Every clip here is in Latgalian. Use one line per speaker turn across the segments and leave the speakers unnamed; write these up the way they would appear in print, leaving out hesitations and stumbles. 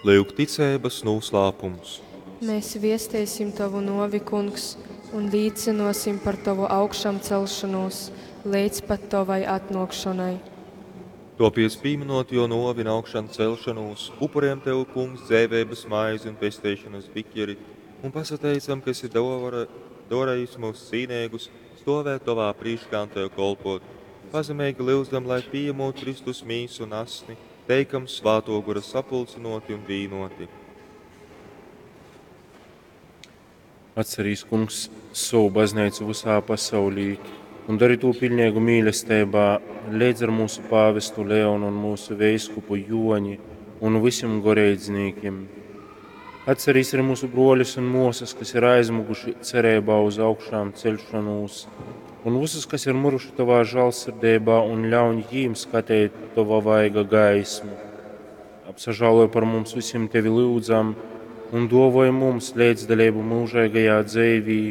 Lyuk ticeibas nūslāpums.
Mēs viesteisim Tovu nuovi, Kungs, un līcynuosim par Tovu augšamcelšonūs leidz pat Tovai atnuokšonai.
Topiec, pīminot Jō nōvi un augšancelšanūs, upurējam Tev, Kungs, dzeiveibas maizi un pesteišanas biķeri, un pasateicam, ka esi darījis mūs cīneigus stovēt Tovā prīškā un Tev kolpot. Pazemeigi lyudzam, lai pījemot Kristus mīsu un asni, teikam Svātō Gora sapulcynoti un vīnoti.
Atcerīs, Kungs, sovu baznīcu visā pasaulī un dari to pilnīgu mīlestībā, līdz ar mūsu pāvestu Leonu un mūsu veiskupu Joni un visiem goreidznīkiem. Atcerīs arī mūsu broļus un māsas, kas ir aizmuguši cerībā uz augšām celšanos, un visus, kas ir muruši tavā žēlsirdībā, un ļauj jīm skatīt tava vaiga gaismu. Apsažāloj par mums visiem tevi lūdzam, un dovoj mums līdzdalību mūžīgajā dzīvī,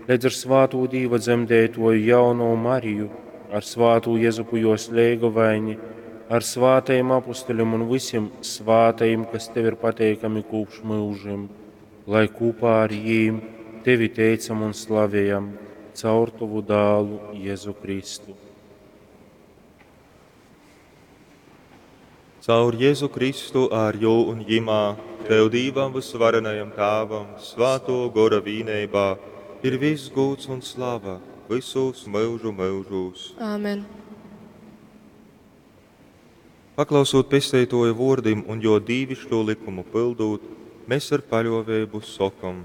līdz ar svātū Dīva dzemdētoju jauno Mariju, ar svātū Jezupu jos leigovaini, ar svātajiem apustuļiem un visiem svātajiem, kas tev ir pateikami kopš mūžiem, lai kopā ar jīm tevi teicam un slavējam caur tavu dālu Jēzu Kristu.
Caur Jēzu Kristu ar jū un jimā, Tev Dīvam vysvarenajam Tāvam, Svāto Gora vīneibā, ir viss gūds un slava visos myužu myužūs.
Āmen.
Paklausot Pesteitoja vordim un jo dīvišķo likumu pildūt, mēs ar paļovēbu sokam: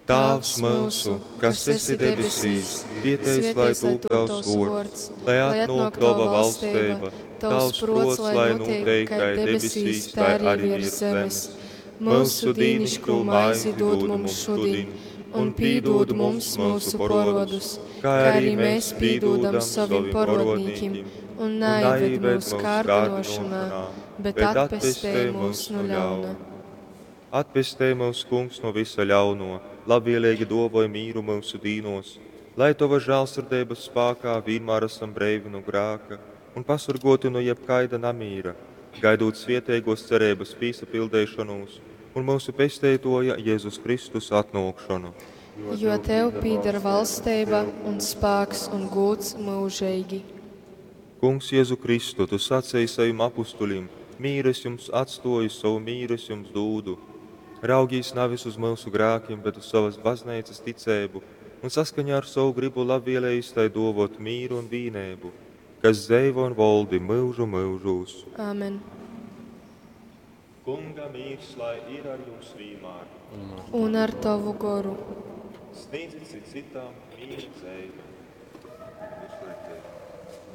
Tāvs mūsu, kas esi debesīs, svietēts lai tūp tavs vords, lai atnāk tava valstība, tavs prots, lai notiek kā debesīs, tā arī virs zemes. Mūsu dīnišķo maizi dod mums šodien, un pīdod mums mūsu porodus, kā arī mēs pīdodam savim porodnīkim,
un neieved mūsu kārdinošanā, bet atpestē mūs no ļauna.
Atpestē mūs, Kungs, no visa ļauno, labvēlīgi dovoj mīru mūsu dīnos, lai Tava žēlsirdības spākā vienmēr esam breivi no grāka un pasargoti no jebkaida namīra, gaidot svietēgos cerības pīsapildēšanos un mūsu pesteitoja Jēzus Kristus atnākšanu.
Jo Tev pīdar valstība un spēks un gūds mūžīgi.
Kungs, Jēzu Kristu, Tu sacīji saviem apustuļiem: mīru es jums atstoju, savu mīru es jums dūdu. Raugīs nevis uz mūsu grēkiem, bet uz savas baznīcas ticību, un saskaņā ar savu gribu labvēlējis tai dovot mīru un vīnēbu, kas dzeivo un voldi mūžu mūžūs.
Āmen.
Kunga mīrs, lai ir ar jums vienmēr.
Un ar tavu goru.
Sniedzit citām mīru dzeivi. Uzliekties.